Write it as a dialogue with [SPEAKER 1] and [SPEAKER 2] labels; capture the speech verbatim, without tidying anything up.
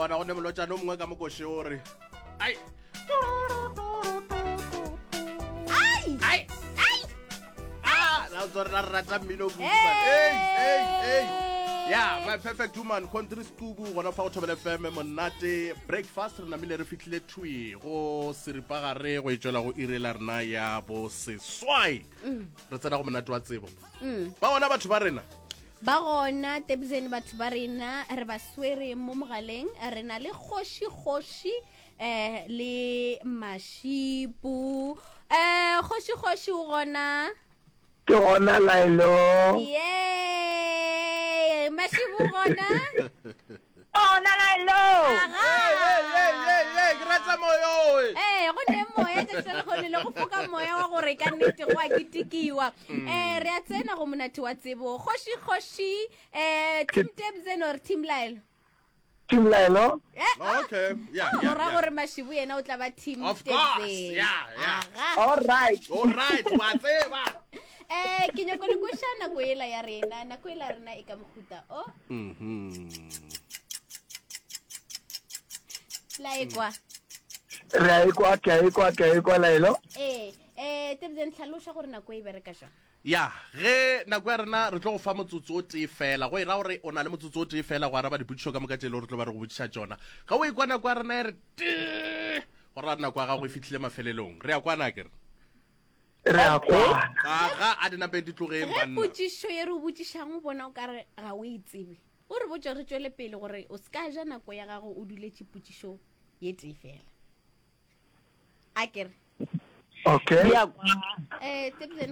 [SPEAKER 1] bona go ne molotšane o mongwe ka mokoše o re ai
[SPEAKER 2] Ai!
[SPEAKER 1] ai
[SPEAKER 2] Ai!
[SPEAKER 1] ah la tsore ra rata mmino kudu,
[SPEAKER 2] Hey!
[SPEAKER 1] man. Hey, hey, hey. ya my perfect woman country skubu gona fa go thobele fm monate breakfast re namile re fitlhile thwi go seripagare go e tswela go ire la rena ya bo seswai re tsena go monate wa tsebo ba bona batho ba rena
[SPEAKER 2] ba gona tebzeni batho ba rena re ba swere mo mogaleng re na le kgoši-kgoši um le mašipu um kgoši-kgoši o gona
[SPEAKER 3] ke gona laelo
[SPEAKER 2] ye mašibu o gona
[SPEAKER 4] Ona laelo
[SPEAKER 2] Aga.
[SPEAKER 1] Hey, hey, hey, hey, hey, ke rata moyo oe.
[SPEAKER 2] ee go ne moya tšatši la lekgone le go foka moya wa gore ka nnete go a ketekiwa um re a tsena go monate wa tsebo kgoši-kgoši um team tebzen or team laelo
[SPEAKER 3] team laelo
[SPEAKER 2] Eh, ah.
[SPEAKER 1] okay yeah,
[SPEAKER 2] go
[SPEAKER 1] yeah,
[SPEAKER 2] ra
[SPEAKER 1] yeah.
[SPEAKER 2] gore mašibu yena o tla ba team
[SPEAKER 1] Of course,
[SPEAKER 2] Tebzen.
[SPEAKER 1] yeah, yeah.
[SPEAKER 2] Aga.
[SPEAKER 3] all right
[SPEAKER 1] all right wa tseba
[SPEAKER 2] eh ke nyako le kweša nako ela ya rena nako ela ya rena e ka mohuta o
[SPEAKER 1] Mhm.
[SPEAKER 2] la ekwa
[SPEAKER 3] re a ekwa ke a ekwa ke a ekwa laelo
[SPEAKER 2] ee eh tebzen tlhaloša gore nako e bereka jang
[SPEAKER 1] ya ge nako ya rena re tlo go fa motsotso o tee fela go e ra gore o na le motsotso o tee fela go araba dipotšišo ka moka tše e le gore tlo ba re go botšiša tšona ga o ekwa nako ya rena e re tee go ra nako ya gago e fitlhile mafelelong re ya kwana kere
[SPEAKER 3] re a kwana
[SPEAKER 1] aga a dinapeng di tlogeng
[SPEAKER 2] ge
[SPEAKER 1] banna
[SPEAKER 2] potšišo ye re o botšišang o bona o kare ga o e tsebe o re botse re tšwele pele gore o se ka ja nako ya gago o duletše potšišo ye tee fela a kere
[SPEAKER 3] okay
[SPEAKER 4] ya
[SPEAKER 2] um tebzen